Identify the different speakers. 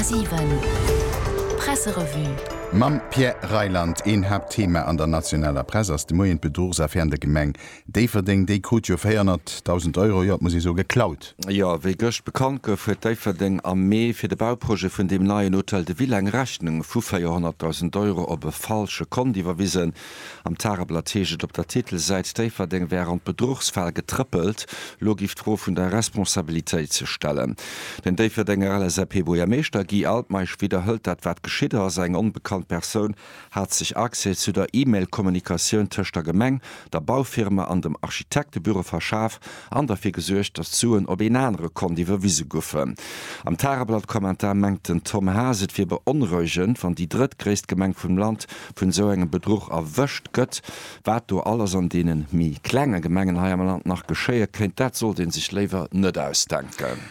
Speaker 1: 100,7 Presserevue.
Speaker 2: Mam Pierre Reyland. Een Haaptthema an der nationaler Press ass de Moien d'Bedruchsaffär an der Gemeng Déifferdeng. Déi krut jo 400.000 Euro, jo et muss ee soe geklaut.
Speaker 3: Jo, wéi gëscht bekannt gouf, huet Déifferdeng am Mee fir de Bauprojet vun deem neien Hôtel de Ville eng Rechnung vu 400.000 Euro op e falsche Kont iwwerwisen. Am Tageblatt heescht et op der Titelsäit, Déifferdeng wär an d'Bedruchsfal getrëppelt. Lo giff d'Fro vun der Responsabilitéit sech stellen. Den Déifferdenger LSAP-Buergermeeschter Guy Altmeisch widderhëlt dat, wat geschitt ass. Eng onbekannt Persoun hat sech Accès zu der E-Mail-Kommunikatioun tëscht der Gemeng, der Baufirma an dem Architektebüro verschaf an derfir gesuergt, datt d'Suen op een anere Kont iwwerwise goufen. Am Tageblatt-Kommentar mengt den Tom Haas, et wier beonrouegend, wann déi drëttgréisst Gemeng vum Land vun esou engem Bedruch erwëscht gëtt. Wat do alles an deene méi klenge Gemengen hei am Land nach geschéie kéint, dat sollt ee sech léiwer net ausdenken.